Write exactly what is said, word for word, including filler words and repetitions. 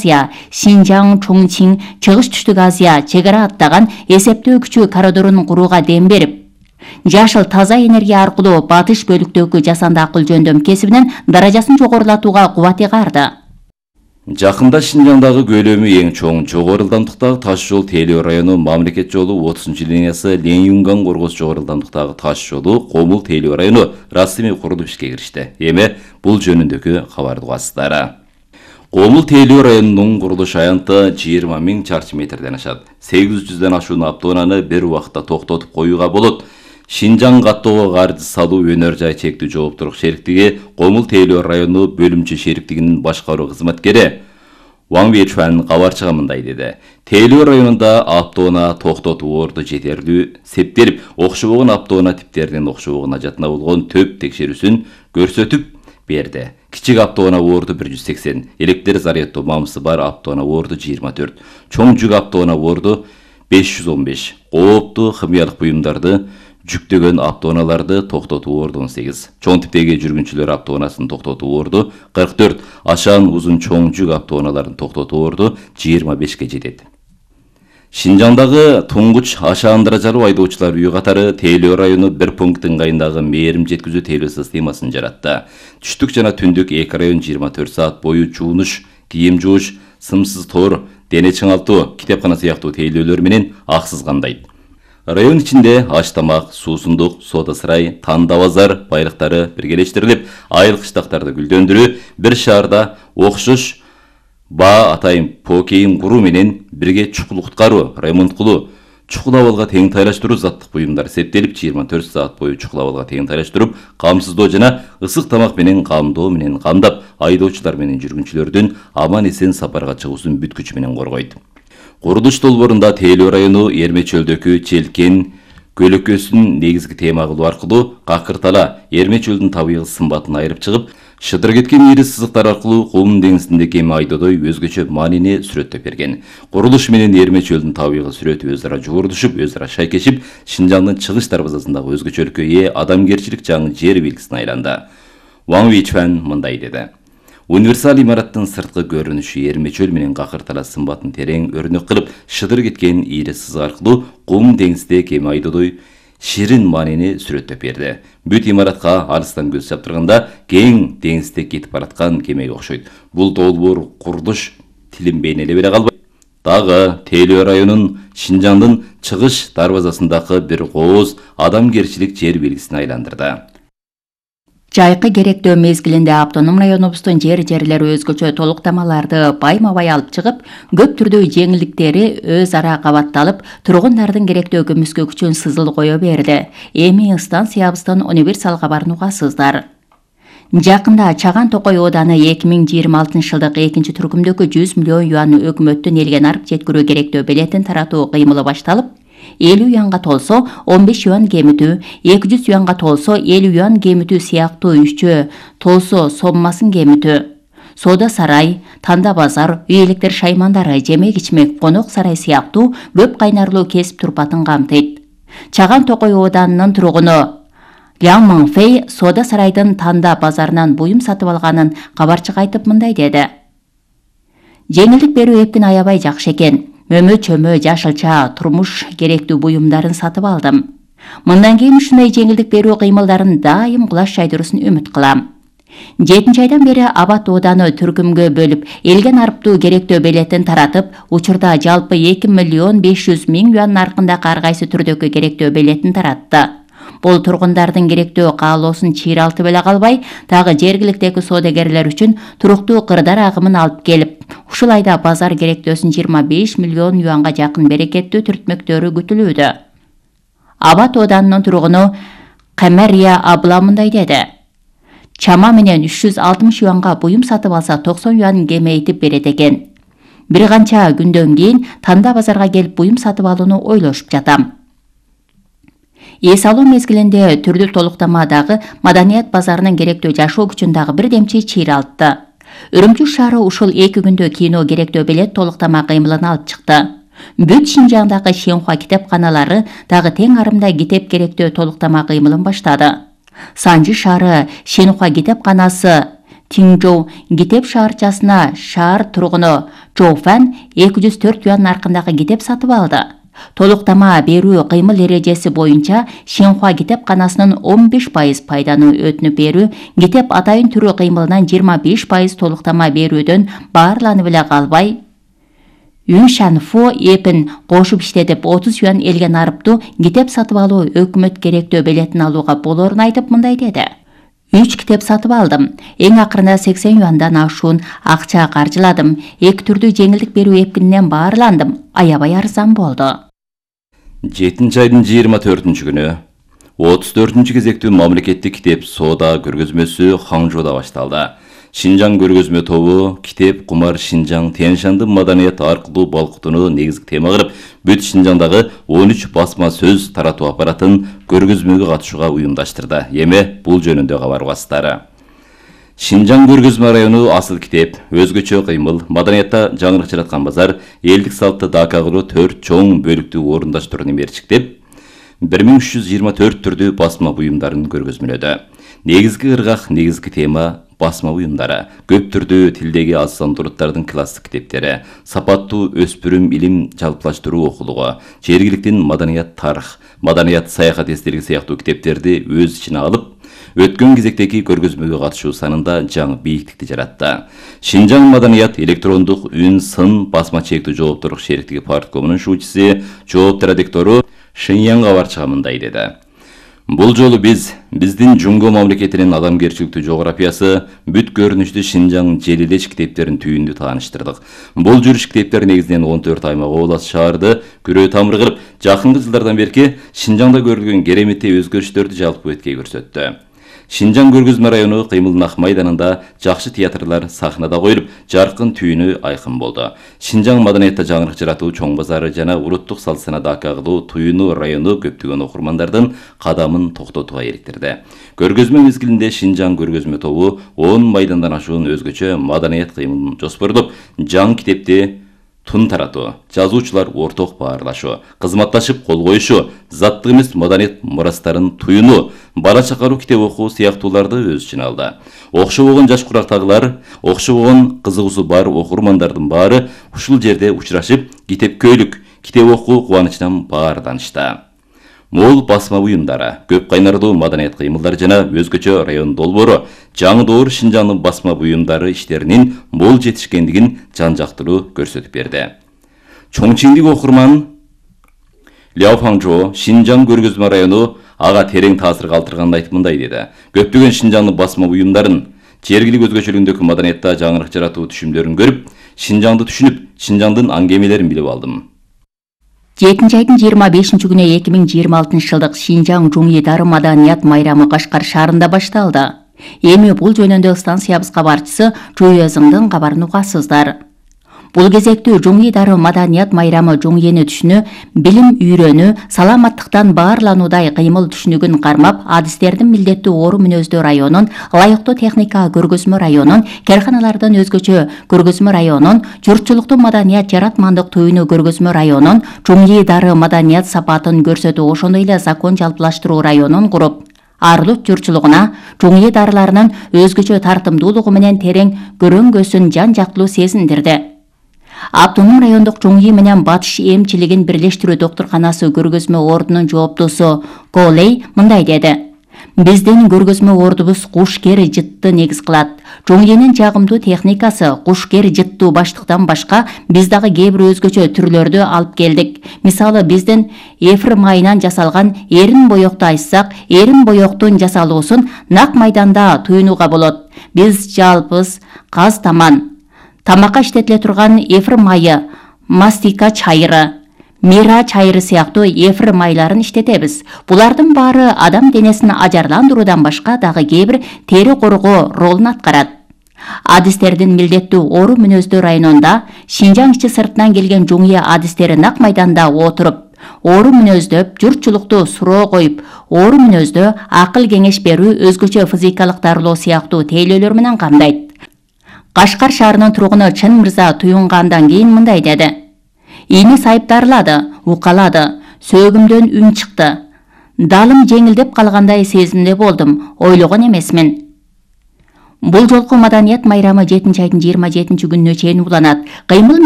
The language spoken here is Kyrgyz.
Азия, Синжаң, Чоңчиң, Чыгыш түштүк Азия чек ара аттаган эсептөө күчү коридорун курууга дем берип, жашыл таза энергия аркылуу батыш бөлүктөгү жасанды акыл жөндөм кесибинин даражасын жогорулатууга кубат ыгарды. Жакында Шинжаңдагы көлөмү эң чоң жогору ылдамдыктагы таш жол Тейлөө району мамлекет жолу отузунчу линиясы Ленюнган Коргоз жогору ылдамдыктагы таш жолу Комул Тейлөө району расмий курулуп ишке киришти. Эми бул жөнүндөгү кабарды угасыздар. Комул Тейлөө районунун курулуш аянты жыйырма миң чарчы метрден ашат. сегиз жүздөн ашуун автоунааны бир убакытта токтотуп коюуга болот. Шинжаң каттоого каржы салуу өнөр жай чектүү жооптуулук шериктиги Комул Тейлөө району бөлүмчө шериктигинин башкаруу кызматкери Ваң Вечуан кабарчыга мындай деди. Тейлөө районунда автоунаа токтотуу орду жетерлүү септелип, окшобогон автоунаа типтеринин окшобогон ажатына болгон төп текшерүүсүн көрсөтүп берди. Кичик автоунаа орду бир жүз сексен, электр заряддоо мамысы бар автоунаа орду жыйырма төрт, чоң жүк автоунаа орду беш жүз он беш, кооптуу химиялык буюмдарды жүктөгөн автоунааларды токтотуу орду он сегиз, чоң типтеги жүргүнчүлөр автоунаасын токтотуу орду кырк төрт, ашаан узун чоң жүк автоунааларын токтотуу орду жыйырма бешке жетет. Шинжаңдагы туңгуч ашаан даражалуу айдоочулар үйү катары Тейлөө району бир пункт ыңгайындагы мээрим жеткизүү тейлөө системасын жаратты. Түштүк жана түндүк эки район жыйырма төрт саат бою жуунуш, кийим жууш, сымсыз тор, дене чыңалтуу, китепкана сыяктуу тейлөөлөр менен аксыз камдайт. Район ичинде аш тамак, суусундук, соода сарай, танда базар байлыктары биргелештирилип, айыл кыштактарды гүлдөндүрүү, бир шаарда окшош баа атайын покейин куруу менен бирге чукул куткаруу, ремонт кылуу, чукул абалга тең тайлаштыруу заттык буюмдар септелип, жыйырма төрт саат бою чукул абалга тең тайлаштырып, камсыздоо жана ысык тамак менен камдоо менен камдап, айдоочулар менен жүргүнчүлөрдүн аман эсен сапарга чыгуусун бүт күчү менен коргойт. Курулуш долбоорунда Тейлөө району Эрме чөлдөгү Челкен көлөкөсүн негизги тема кылуу аркылуу какыртала Эрме чөлдүн табигый сымбатын айырып чыгып, шыдыр кеткен ири сызыктар аркылуу Кум деңизиндеги эми айдоодой өзгөчө маанини сүрөттөп берген. Курулуш менен Эрме чөлдүн табигый сүрөтү өз ара жуурдушуп, өз ара шайкешип, Шинжаңдын чыгыш дарбазасындагы өзгөчөлүккө ээ адамгерчилик жаңы жер белгисине айланды. Ваң Вечуан мындай деди. Универсал имараттын сырткы көрүнүшү Эрме чөл менен какыртала сымбатын терең өрнөк кылып, шыдыр кеткен ири сызык аркылуу Кум деңиздеги эми айдоодой ширин маанини сүрөттөп берди. Бүт имаратка алыстан көз чаптырганда кең деңизде кетип бараткан кемеге окшойт. Бул долбоор курулуш тилин бейнелей бере калбайт. Дагы Тейлөө районунун Шинжаңдын чыгыш дарбазасындагы бир кооз адамгерчилик жер белгисине айландырды. Жайкы керектөө мезгилинде автоном районубуздун жер-жерлери өзгөчө толуктамаларды байма-бай алып чыгып, көп түрдүү жеңилдиктери өз ара кабатталып, тургундардын керектөө көмүскө күчүн сызыл кое берди. Эми станциябыздын универсал кабарын угасыздар. Жакында Чаган Токой ооданы эки миң жыйырма алтынчы жылдык экинчи түркүмдөгү жүз миллион юан өкмөттүн элге нарып жеткирүү керектөө билетин таратуу кыймылы башталып, элүү юанга толсо он беш юан кемитүү, эки жүз юанга толсо элүү юан кемитүү сыяктуу үччө толсо соммасын кемитүү, соода сарай, танда базар, үй электр шаймандары, жемек-ичмек, конок сарай сыяктуу көп кайнарлуу кесип турпатын камтыйт. Чаган Токой ооданынын тургуну Лян Мыңфэй соода сарайдын танда базарынан буюм сатып алганын кабарчыга айтып мындай деди. Жеңилдик берүү эптин аябай жакшы экен. Мөмө-чөмө, жашылча, турмуш керектүү буюмдарын сатып алдым. Мындан кийин ушундай жеңилдик берүү кыймылдарын дайым кулаш жайдыруусун үмүт кылам. жетинчи айдан бери Абат ооданы түркүмгө бөлүп, элге нарыптуу керектөө билетин таратып, учурда жалпы эки миллион беш жүз миң юан наркындагы ар кайсы түрдөгү керектөө билетин таратты. Бул тургундардын керектөө каалоосун чыйралтып эле калбай, дагы жергиликтеги соодагерлер үчүн туруктуу кырдар агымын алып келип, ушул айда базар керектөөсүн жыйырма беш миллион юанга жакын берекеттүү түртмөктөрү күтүлүүдө. Абат оодарынын тургуну Камария Абла мындай деди. Чама менен үч жүз алтымыш юанга буюм сатып алса токсон юан кемейтип берет экен. Бир канча күндөн кийин танда базарга келип буюм сатып алууну ойлошуп жатам. Эс алуу мезгилинде түрдүү толуктамадагы маданият базарынын керектөө жашоо күчүн дагы бир демчи чыйралтты. Үрүмчү шаары ушул эки күндө кино керектөө билет толуктама кыймылын алып чыкты. Бүт Шинжаңдагы Шенхуа китепканалары дагы тең арымда китеп керектөө толуктама кыймылын баштады. Санжы шаары Шенхуа китепканасы Тиңжоу Китеп шаарчасына шаар тургуну Чжоу Фан эки жүз төрт юан наркындагы китеп сатып алды. Толуктама берүү кыймыл эрежеси боюнча Шинхуа китепканасынын он беш пайыз пайданы өтүнүп берүү, китеп атайын түрү кыймылынан жыйырма беш пайыз толуктама берүүдөн баарланып эле калбай, Юншанфу эпин кошуп иштетип отуз юан элге нарыптуу китеп сатып алуу өкмөт керектөө билетин алууга болоорун айтып мындай деди. Үч китеп сатып алдым. Эң акырында сексен юандан ашуун акча каржыладым. Эки түрдүү жеңилдик берүү эпкининен баарландым. Аябай арзан болду. жетинчи айдын жыйырма төртүнчү күнү отуз төртүнчү кезектүү мамлекеттик китеп соода көргөзмөсү Хаңжоуда башталды. Шинжаң көргөзмө тобу китеп кумар Шинжаң Тяньшанды маданият аркылуу балкытууну негизги тема кылып, бүт Шинжаңдагы он үч басма сөз таратуу аппаратын көргөзмөгө катышууга уюмдаштырды. Эми бул жөнүндө кабар угасыздары. Шинжаң көргөзмө району асыл китеп, өзгөчө кыймыл, маданиятта жаңырык жараткан базар, элдик салтты дака кылуу төрт чоң бөлүктүү орундаштырууну мерчиктеп, бир миң үч жүз жыйырма төрт түрдүү басма буюмдарын көргөзмөлөдү. Негизги ыргак, негизги тема басма буюмдары, көп түрдүү тилдеги аз сандуулуктардын классик китептери, сапаттуу өспүрүм илим жалпылаштыруу окулугу, жергиликтин маданият тарых, маданият саяхат эстелиги сыяктуу китептерди өз ичине алып, өткөн кезектеги көргөзмөгө катышуу санында жаңы бийиктикти жаратты. Шинжаң маданият электрондук үн сын басма чектүү жоопторлук шериктиги парткомунун шуучусу, жооптор редактору Шиньяң кабарчыга мындай деди. Бул жолу биз биздин Жунго мамлекетинин адамгерчиликтүү жографиясы, бүт көрүнүштүү Шинжаң желилеш китептерин түйүндү тааныштырдык. Бул жүрүш китептер негизинен он төрт аймак облас шаарды күрөө тамыр кылып, жакынкы жылдардан берки Шинжаңда көрүлгөн кереметти өзгөрүштөрдү жалпы беткей көрсөттү. Шинжаң көргөзмө району кыймылдын ак майданында жакшы театрлар сахнада коюлуп, жаркын түйүнү айкын болду. Шинжаң маданиятта жаңырык жаратуу чоң базары жана улуттук салт санаада дака кылуу туюну району көптөгөн окурмандардын кадамын токтотууга эриктирди. Көргөзмө мезгилинде Шинжаң көргөзмө тобу он майдандан ашуун өзгөчө маданият кыймылын жоспордоп, жаңы китепти тун таратуу, жазуучулар орток баарлашуу, кызматташып кол коюшу, заттык эмес маданият мурастарын туюну, бала чакаруу китеп окуу сыяктууларды өз ичине алды. Окшобогон жаш курактагылар, окшобогон кызыгуусу бар окурмандардын баары ушул жерде учурашып, китепкөйлүк, китеп окуу кубанычынан баарданышты. Мол басма буюмдары, көп кайнардуу маданият кыймылдар жана өзгөчө район долбоору, жаңы доор Шинжаңдын басма буюмдары иштеринин мол жетишкендигин жан-жактылуу көрсөтүп берди. Чоңчиңдик окурман Ляо Фаңжо Шинжаң көргөзмө району ага терең таасир калтырганын айтып мындай деди. Көптөгөн Шинжаңдын басма буюмдарын, жергилик өзгөчөлүгүндөгү маданиятта жаңырык жаратуу түшүмдөрүн көрүп, Шинжаңды түшүнүп, Шинжаңдын аңгемелерин билип алдым. жетинчи айдын жыйырма бешинчи күнү эки миң жыйырма алтынчы жылдык Шинжаң Жуңи Дары маданият майрамы Кашкар шаарында башталды. Эми бул жөнүндө станциябыз кабарчысы Чуйөзүңдүн кабарын угасыздар. Бул кезектүү Жуңи Дары маданият майрамы Жуңени түшүнүү, билим үйрөнүү, саламаттыктан баарлануудай кыймыл түшүнүгүн кармап, адистердин милдеттүү ору мүнөздүү районун, ылайыктуу техника көргөзмө районун, керканалардын өзгөчө көргөзмө районун, журтчулуктун маданият жаратмандык туюну көргөзмө районун, Жуңи Дары маданият сапатын көрсөтүү, ошондой эле закон жалпылаштыруу районун куруп, Арлык журтчулугуна, Жуңи дарыларынын өзгөчө тартымдуулугу менен терең көрөнгөсүн жан-жактылуу сезиндирди. Автоном райондук Жуңи менен Батыш эмчилигин бирлештирүү доктурканасы көргөзмө ордунун жооптосу Колей мындай деди. Биздин көргөзмө ордубуз куш-кер жытты негиз кылат. Жуңенин жагымдуу техникасы куш-кер жыттуу баштыктан башка биз дагы кээ бир өзгөчө түрлөрдү алып келдик. Мисалы биздин эфир майынан жасалган эрин боёкту айтсак, эрин боёктун жасалуусун нак майданда туюнууга болот. Биз жалпыз каз таман, тамакка иштетиле турган эфир майы, мастика чайыры, мира чайыры сыяктуу эфир майларын иштетебиз. Булардын баары адам денесин ажарландыруудан башка дагы кээ бир тери коргоо ролун аткарат. Адистердин милдеттүү ору мүнөздүү районунда Шинжаң ичи сыртынан келген Жуңи адистери нак майданда отуруп, ору мүнөздөп, журтчулукту суроо коюп, ору мүнөздө акыл кеңеш берүү, өзгөчө физикалык дарылоо сыяктуу тейлөөлөр менен камдайт. Кашкар шаарынын тургуну Чын Мырза туюнгандан кийин мындай деди. Ини сайыптарлады, укалады, сөөгүмдөн үн чыкты. Далым жеңилдеп калгандай сезимде болдум, ойлогон эмесмин. Бул жолку маданият майрамы жетинчи айдын жыйырма жетинчи күнүнө чейин уланат. Кыймыл